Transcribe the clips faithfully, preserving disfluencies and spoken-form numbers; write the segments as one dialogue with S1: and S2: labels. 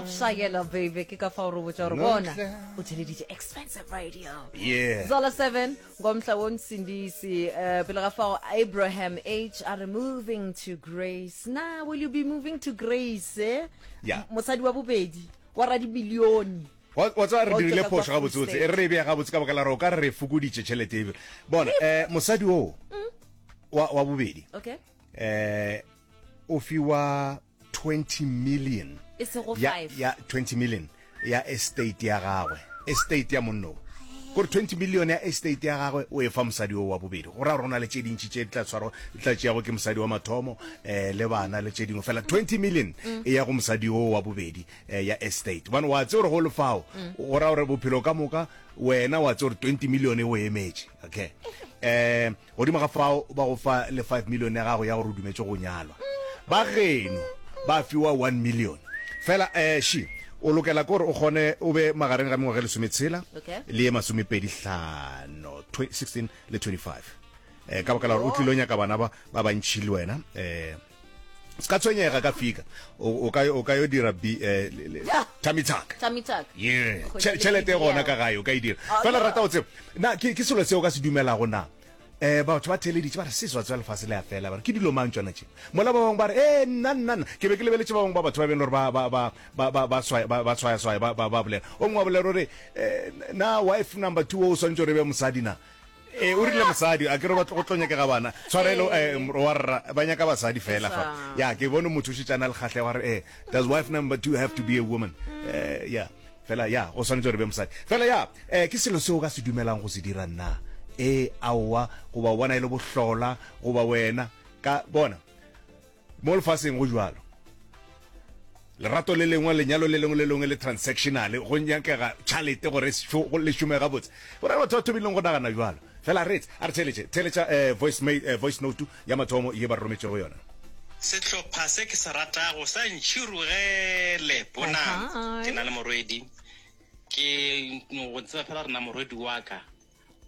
S1: Top Shayela baby ke ka fao re botša gore bona o theleditše expensive radio
S2: Yeah.
S1: Zola seven ngomhla womsindisi uh, pele ga fao Abraham H are moving to Grace na will you be moving to Grace eh?
S2: Yeah.
S1: mosadi wa bobedi wa radimilione
S2: wa wa tseba re
S1: Wa
S2: dirile
S1: tšwa ka kwa
S2: phošo gabotsebotse
S1: Free
S2: e re re e beya gabotse ka baka la gore o ka re re fokoditše tšhelete ebe bona um mosadi oo wa wa bobedi
S1: okay
S2: um o fiwa twenty million
S1: e sego
S2: ya
S1: five
S2: ya twenty million ya estate ya gagwe, estate ya monna o. Kore twenty million ya estate ya gagwe o e fa mosadi o wa bobedi. Go ra gore go na le tše dintši tše di tla tshwarwa, di tla tšeago ke mosadi wa mathomo eh le bana le tše dingwe. Fela twenty million e ya go mosadi o wa bobedi eh, ya estate. Gobane wa tseba gore go le fao, go ra gore bophelo ka moka wena wa tseba gore twenty million e o emetše. Okay. Eh godimo ga fao ba go fa le five million ya gago ya gore o dumetše go nyalwa. Ba geno ba fiwa one million. Fela eh she o lokela ke gore o kgone o be magareng ga mengwaga e lesometshela
S1: Okay.
S2: le ye masomepedi hlano, sixteen le twenty-five. Eh ka baka la gore o tlilo nyaka bana ba ba bantši le wena. Eh se ka tshwenyega ka fika. O o ka o ka yo dira bi eh le- le- tummy tuck.
S1: Tummy tuck.
S2: Yeah.
S1: Kgwedi
S2: Tšhe-
S1: le
S2: Tšhelete e gona
S1: B B L.
S2: ka gae o ka e dira.
S1: Ah,
S2: Fela
S1: yeah.
S2: rata o tseba. Na ke ke selo seo o ka se dumelago na? Eh batho ba theeleditše ba re se swa tswa lefase le a fela ba re ke dilo mang tšona tše. Mola ba bangwe ba re eh nna nna nna ke be ke lebeletše ba bangwe ba batho ba beng gore ba ba ba ba ba ba swaya ba ba swaya swaya ba ba ba bolela. O mongwe wa bolela gore eh na wife number two o swantse gore e be mosadi na? Eh o rile mosadi a ke re ba tlo go tlo nyakega bana. Tshwarelo eh wa rra ba nyaka basadi fela fa. Ya ke bone motho o šetše a na le kgahlego a re eh does wife number two have to be a woman? Eh ya fela ya go swanetše gore e be mosadi. Fela ya eh ke selo seo o ka se dumelang go se dira nna? Ee, aowa, goba o bona e le bohlola, goba wena, ka, bona, mo lefaseng go bjalo. Lerato le lengwe, lenyalo le lengwe le lengwe le transactional, go nyakega tšhalete gore le šome gabotse. Go na le batho ba thomileng go nagana bjalo. Fela reetsa, a re theeletše, theeletša eh, voice, ma, eh, voice note ya mathomo ye ba re rometšego yona.
S3: Sehlopha se ke se ratago sa ntšhirogele. Bonang, ke na le morwedi. Ke no go tseba fela gore na morwedi wa ka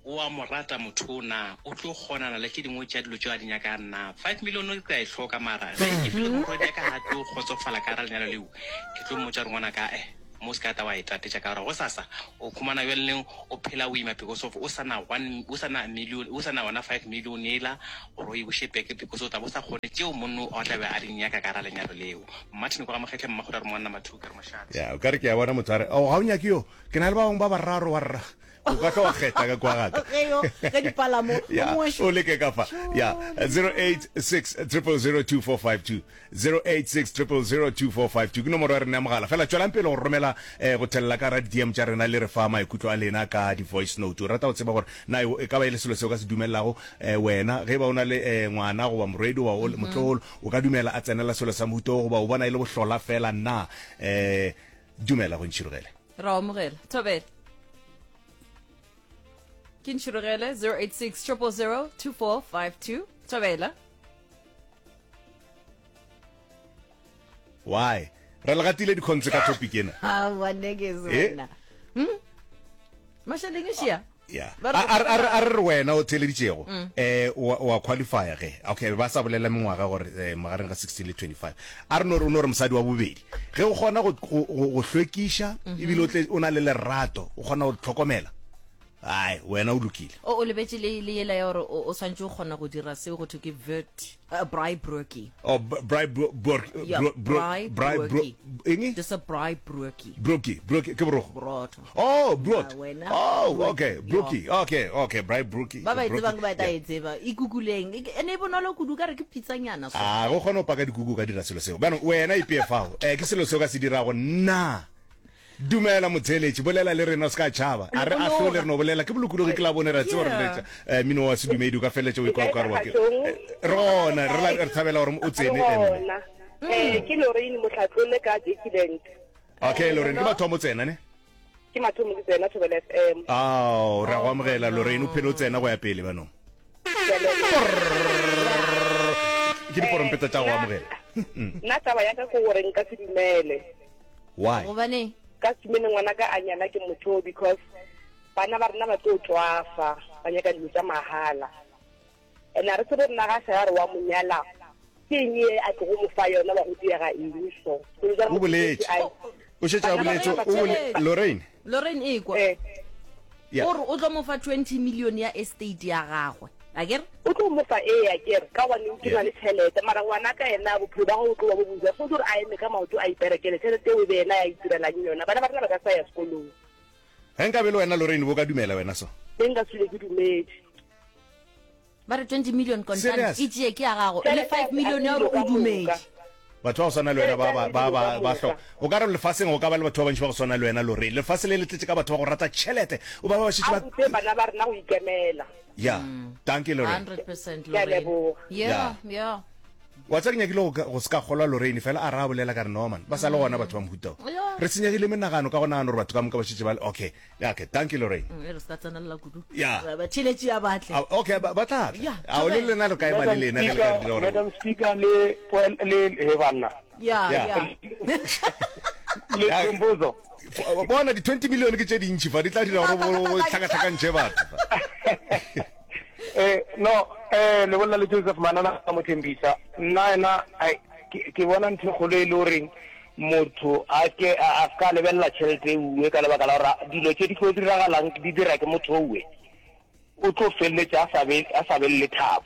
S3: o a mo rata motho o na, o tlo kgonana le tše dingwe tša dilo tšeo a di nyakang na. Five million ke a e hloka mara ge ke feel gore morwedi ya ka ga tlo kgotsofala ka gara lenyalo leo, ke tlo mmotša gore ngwanaka eh mo o se ka tla wa e tatetša ka gore gosasa o khumana bjale neng o phela o ima because of o sa na one, o sa na million, o sa na yona five million yela gore o e buše back because o tla bo sa kgone tšeo monno o tla be a di nyaka ka gara lenyalo leo. Martin kwa ga Mokgetle Mmakgoda re monna number two ke re mošate.
S2: Ya, o ka re ke a bona motho a re, oh, ga o nyake yo, ke na le ba bangwe ba bararo wa rra. O ka tlo wa kgetha ka kwa gaka.
S1: Ge yo, ge dipalamo,
S2: Ya,
S1: o mongwe
S2: o leke ka fa. Ya, zero eight six triple zero two four five two. zero eight six triple zero two four five two. Ke nomoro ya rena ya mogala. Fela tšwelang pele go romela eh, go thelela ka ra di-D M tša rena le re fa maikutlo a lena ka di-voice note. O rata go tseba gore na e ka ba e le selo seo ka se dumelelago eh, wena ge ba o na le eh, ngwana goba morwedi goba o le motlogolo, o ka dumela a tsenela selo sa mohuta wo goba o bona e le bohlola fela na? Eh, dumela go ntšhirogele.
S1: Ra o amogela. Thobela. Ke ntšhirogele zero eight six triple zero two four five two. Thobela.
S2: Why? Re le gatile dikgontse ka topic ena.
S1: Aowa, ne ke se
S2: Eh?
S1: wena. Hmm? Mašeleng e šia?
S2: Yeah.
S1: Ba re
S2: A, a, a, a re re wena o theeleditšego, eh, o, o a qualifya ge. Okay, ba sa bolela mengwaga gore, eh, magareng ga sixteen le twenty-five. A re no re o no re mosadi wa bobedi. Ge o kgona go, go, go, go hlwekiša, ebile o tle, o na le lerato, o kgona go hlokomela. Ai, wena o lokile.
S1: O, o lebetše le, le yela ya gore o, o swantše o kgona go dira seo go thwe ke vert, uh, braai broekie.
S2: Oh, b-, braai bro-, bro-,
S1: Yeah,
S2: bro-, bro-,
S1: braai
S2: braai bro-,
S1: broekie.
S2: eng?
S1: Dis 'n braai broekie.
S2: Broekie, broekie, ke borokgo.
S1: Borotho.
S2: Oh, brot.
S1: Ah, wena.
S2: Oh,
S1: Broekie.
S2: okay, broekie. Okay, okay, braai broekie.
S1: Ba ba e
S2: Broekie.
S1: tsebang ba tla
S2: Yeah.
S1: e tseba. E kukuleng. E, ene e bonolo kudu ka re ke pitsanyana so.
S2: Ah, go kgona go paka dikuku ka dira selo seo. Bjano wena ipee fao. Eh, ke selo seo ka se dirago nna. Dumela motheeletši, bolela le rena o se ka tšhaba. A re ahlole re no bolela, ke bolokologi ke la bone ra tseba gore re letša eh, mmino wa sedumedi o ka feleletša o ikwa o ka re wa ke. Eh, re gona, re la, re thabela gore o tsene, eh, mme.
S4: Gona. Eh, ke Lorraine Mohlatlole ka Jekiland.
S2: Okay, Lorraine, ke mathomo tsena ne?
S4: Ke mathomo ke tsena Thobela F M.
S2: Ao, re a go amogela Lorraine, o phele o tsena go ya pele banong. Ke diporompeta tša go amogela.
S4: Nna taba ya ka ke gore nka se dumele.
S2: Why?
S1: Gobane
S4: ka se dumele ngwana ka a nyala ke motho because bana ba rena ba tlo tswafa, ba nyaka dilo tša mahala. And a re tsebe rena ga sa re wa mo nyala, ke eng e a tlogo mo fa yona wa go diega eng so.
S2: O boletše. O šetše a
S1: Bana ba
S2: boletše,
S1: rena ba
S2: o bole
S1: tšhelete.
S2: Lorraine.
S1: Lorraine ekwa.
S4: Eh.
S2: Yeah.
S1: O re o tlo mo fa twenty million ya estate ya gagwe. Akere?
S4: O tlo mo fa ee akere, ka gobane ke na
S2: Yeah.
S4: le tšhelete. Mara ngwanaka yena bophelo ba gagwe bo tlo ba bo boima. So gore a eme ka maoto a iperekele tšhelete eo e be yena ya itirelang yona. Bana ba rena ba ka sa ya sekolong.
S2: Ge nka be le wena Lorraine bo ka dumela wena so?
S4: Be nka se dule ke dumetse.
S1: Ba re twenty million contant
S2: Serious?
S1: e tšee ke ya gago le
S4: Tšhelete
S1: five
S4: ya
S1: million ya
S4: dilo
S1: gore o
S4: ka moka.
S1: dumetse.
S2: Batho ba go swana le wena ba, ba, ba, ba, ba
S4: Tšhelete ya
S2: hloka. O ka re lefaseng go ka ba le batho ba bantši ba go swana le wena Lorraine. Lefase le le tletše ka batho ba go rata tšhelete. O ba ba ba šetše
S4: A
S2: ba
S4: rute bana ba rena go ikemela.
S2: Ya. Dankie Lorraine.
S1: hundred percent
S4: Ke a
S1: Lorraine.
S4: leboga.
S1: Yeah, yeah.
S2: Wa tseba ke nyakile go ka, go se ka kgolwa Lorraine fela a ra bolela ka re no man, ba sa le gona batho ba mohuta o.
S1: Yeah.
S2: Re senyegile menagano ka go nagana gore batho ka moka ba šetše ba le okay. Yeah, okay, thank you Lorraine.
S1: Mm, e re se ka tsenelela kudu.
S2: Yeah.
S1: Ba- ba theeletše ya batle.
S2: Ah, okay, ba ba tla tla.
S1: Yeah,
S2: A o le
S1: thobela.
S2: lena le kae ba le
S5: Madam
S2: lena ge le ka
S5: Speaker,
S2: dira gore
S5: Madam Speaker le poel- le he banna.
S1: Yeah,
S2: Yeah.
S1: yeah.
S5: Le
S2: Yeah.
S5: Khumbuzo.
S2: F- bona di twenty million ke tše dintši fa di tla dira gore bo- bo tlhakatlhakantšhe batho fa.
S5: Eh no, eh le bolela le Joseph Manana ka Mothembisa. Nna ena ai ke ke bona ntho e kgolo e le horeng motho a ke a a ska lebelela tšhelete e uwe ka lebaka la gore dilo tše di tlo diragalang di dira ke motho uwe. O tlo feleletša a sa be a sa be le lethabo.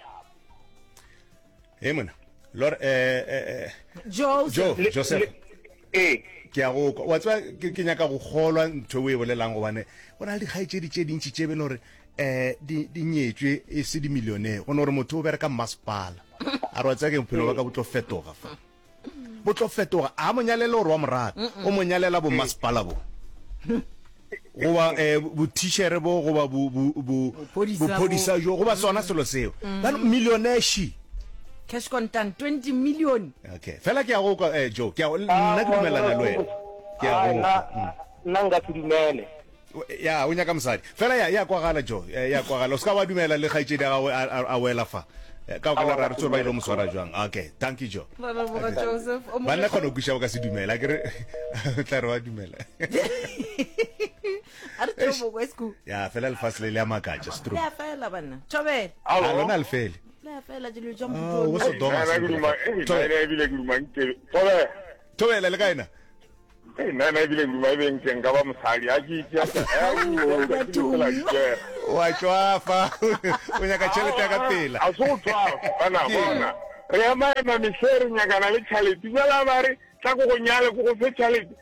S2: He mona. Lor eh eh eh
S1: Joseph.
S2: Joe,
S5: Le-
S2: Joseph.
S5: le- Eh.
S2: Ke a go kwa. Wa tseba ke ke nyaka go kgolwa ntho e o e bolelang gobane go na le dikgaetšedi tše dintši tše be le gore eh di di nyetšwe e se di-millionaire. Go no gore motho o bereka mmasepala. A re wa tseba ke bophelo ba ka bo tlo fetoga fa. Bo tlo fetoga. A mo nyalele gore wa mo rata. O mo nyalela bo mmasepala bo. Goba eh bothišere bo goba bo bo bo
S1: Bophodisa bo.
S2: bophodisa jo goba sona selo seo. Bjalo millionaire she.
S1: Cash contant twenty million.
S2: Okay. Fela ke a go kwa eh Joe, ke a go nna ke dumelana le wena. Ke a
S5: Ai,
S2: go
S5: nna
S2: kwa.
S5: nna nka se dumele.
S2: Ya, o nyaka mosadi. Fela ya ya kwagala Joe, eh, ya kwagala. O ska wa dumela le kgaetšedi ya gagwe a a- a wela fa. Eh, Ka go la re tsore ba ile mo swara jwang. Okay, thank you Joe.
S1: Ba leboga Joseph. O mo
S2: Banna kgona go kweša o ka se dumela, akere o tla re wa dumela.
S1: A re tlo mo kwa
S2: Ya, fela lefase le le a makatša, stro.
S1: Le a fela banna. Thobela.
S2: A lona le fele.
S1: Le a fela dilo tša
S2: Oh,
S1: mohuta
S2: bo
S1: o.
S2: Sodoma
S6: Nna
S2: se
S6: ke duma- eh,
S2: Thobela.
S6: nna ebile ke duma nke- Thobela.
S2: Thobela le kae na?
S6: Eh, nna nna ebile ke duma ebe nke nka ba mosadi. Ha ke itse, ha ke- ha ke itse, ha ke itse,
S2: Wa tšwafa. O nyaka tšhelete ya ka pela.
S6: A se go tšwafa, bana,
S2: Ke-
S6: bona. Re ema ema mehle re nyakana le tšhelete. Jwale ha ba re, tla ko go nyale, ko go fe tšhelete.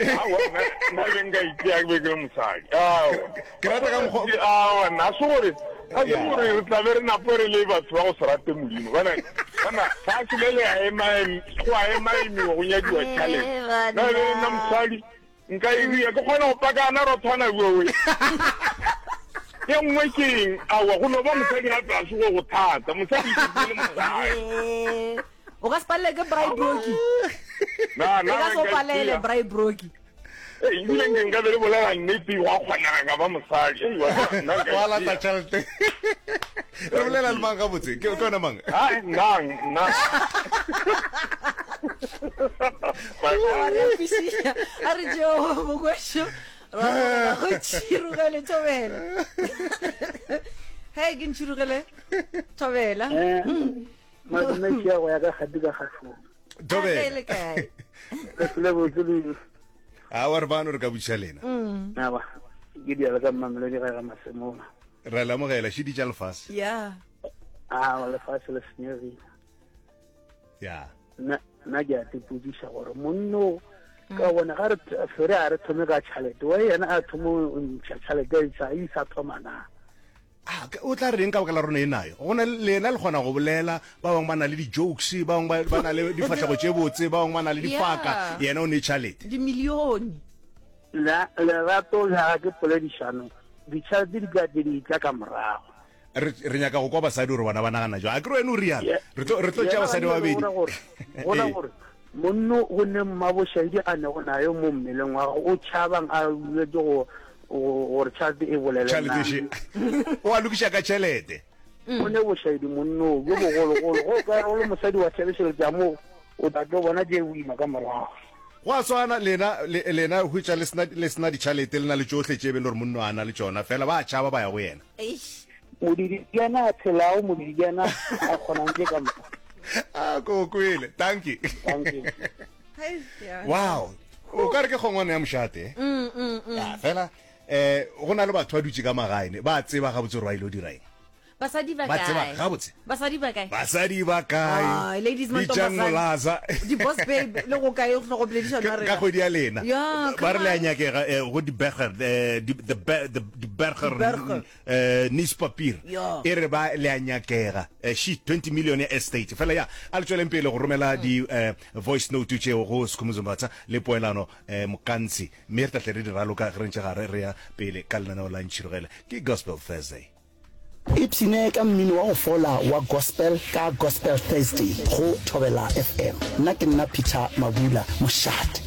S6: Aowa, nna- nna be nka itea ke be ke le mosadi. Aowa.
S2: Ke rata ka mokgwa-
S6: Aowa, nna, ha se gore- ha se
S2: Yeah.
S6: gore re tla be re napo re le batho ba go se rate Modimo. Bana, bana, fatshe le le a ema em-, go a ema emiwa go nyadiwa tšhelete.
S1: Eh, banna.
S6: Nna be nna mosadi, nka e ria, ke kgona go pakana rothwana bua we. E nngwe ke eng? Aowa, go no ba mosadi gape a se go go thata. Mosadi ke le mosadi.
S1: Eh, o ka se palele ke braai broki.
S6: Na, na,
S1: O ka se o
S6: nka
S1: palele
S6: itia.
S1: braai broki.
S6: Ee, ebile nke nka be le bolela nnete wa kgonega ka ba mosadi. Ei, wa tseba, nna nka
S2: Wa lata
S6: itia.
S2: tšhelete. Re bolela le mang gabotse? Ke ke wena mang?
S6: Ai, nna, nna.
S1: Wa re apišiša. A re Joe, mokwešo. Ra go go tšhirogele Thobela. Hey, ke ntšhirogele Thobela.
S7: Eh, madume ke ya go ya ka kgati ka kgahlong.
S2: Thobela.
S1: A le kae?
S7: Re tlile botse le
S2: A wa re bano re ka botšiša lena.
S7: Naba, ke diala ka Mamelodi ga ga Masemola.
S2: Re le amogela šidi tša lefase.
S1: Yeah.
S7: A lefatshe le senyegile.
S2: Ya.
S7: Nna nna ke a tipodiša gore monno ka bona ga re fere a re thome ka tšhelete, wa yena a thome o ntšha tšhelete a isa, a isa thoma na.
S2: Ah, ka-, o tla reng ka baka la rona e nayo? Go na le lena le kgona go bolela, ba bangwe ba na le di-jokes, ba bangwe ba, ba na le difahlego tše botse, ba bangwe ba na le difaka,
S1: Yeah.
S2: yena o ne tšhelete.
S1: Dimilione.
S7: La, lerato la ke poledišano, ditšhelete di ka di tla ka morago.
S2: Re, re nyaka go kwa basadi gore bona ba nagana jwang. A ke re wena o rialo.
S7: Yeah.
S2: Re tlo, re tlo tšea
S7: Yena
S2: basadi ba
S7: ba
S2: babedi.
S7: gora gore, gora
S2: Ee.
S7: gore monno go ne mmabošaedi a ne go nayo mo mmeleng wa gagwe, o tšhabang a uletse go, go, gore tšhelete e bolele
S2: Tšhelete
S7: na.
S2: še. O a lokiša ka tšhelete.
S7: O ne bošaedi monno jo bogologolo, go ka re o le mosadi wa tšhabe tšhelete ya moo, o tla tlo bona tše boima ka morago.
S2: Go a swana lena, le, lena hwetša le sena, le sena ditšhelete, le na le tšohle tše be le gore monno a na le tšona, fela ba tšhaba ba ya go yena.
S1: Eish.
S7: Modidi ke yena a phelago, modidi ke yena a kgonang tše ka moka.
S2: A ko kwele. Thank you.
S7: Thank you.
S1: Hey, yeah.
S2: Wow. O ka re ke kgongwana ya mošate eh?
S1: Mm, mm, mm.
S2: Ya, fela eh go na le batho ba dutše ka magaene ba tseba gabotse gore ba ile go dira eng.
S1: Basadi ba
S2: Ba tseba
S1: kae?
S2: gabotse.
S1: Basadi ba kae?
S2: Basadi ba kae?
S1: Ai, ladies
S2: Bitšang
S1: mantombazane.
S2: Molaza.
S1: Di-boss babe le go kae go hlogo boledišano ya
S2: Ka
S1: rena?
S2: ka kgwedi ya lena.
S1: Ya,
S2: Ba re
S1: come
S2: le a
S1: on.
S2: nyakega eh, go di-Berger eh, di, the, Be- the, di-Berger
S1: Di-Berger.
S2: eh, newspapier.
S1: Ya.
S2: E re ba le a nyakega. Eh, she twenty million ya estate. Fela ya a le tsweleng pele go romela di eh, voice note tšeo go Skhumbuzo Mbatha le Poelano eh, Mokantsi. Mme re tla tle re di raloka ge re ntše gare re ya pele ka lenaneo la Ntšhirogele. Ke Gospel Thursday.
S8: Ipshine ka mmino wa go fola wa gospel ka Gospel Thursday go Thobela F M. Nna ke nna Peter Mabula, mošate.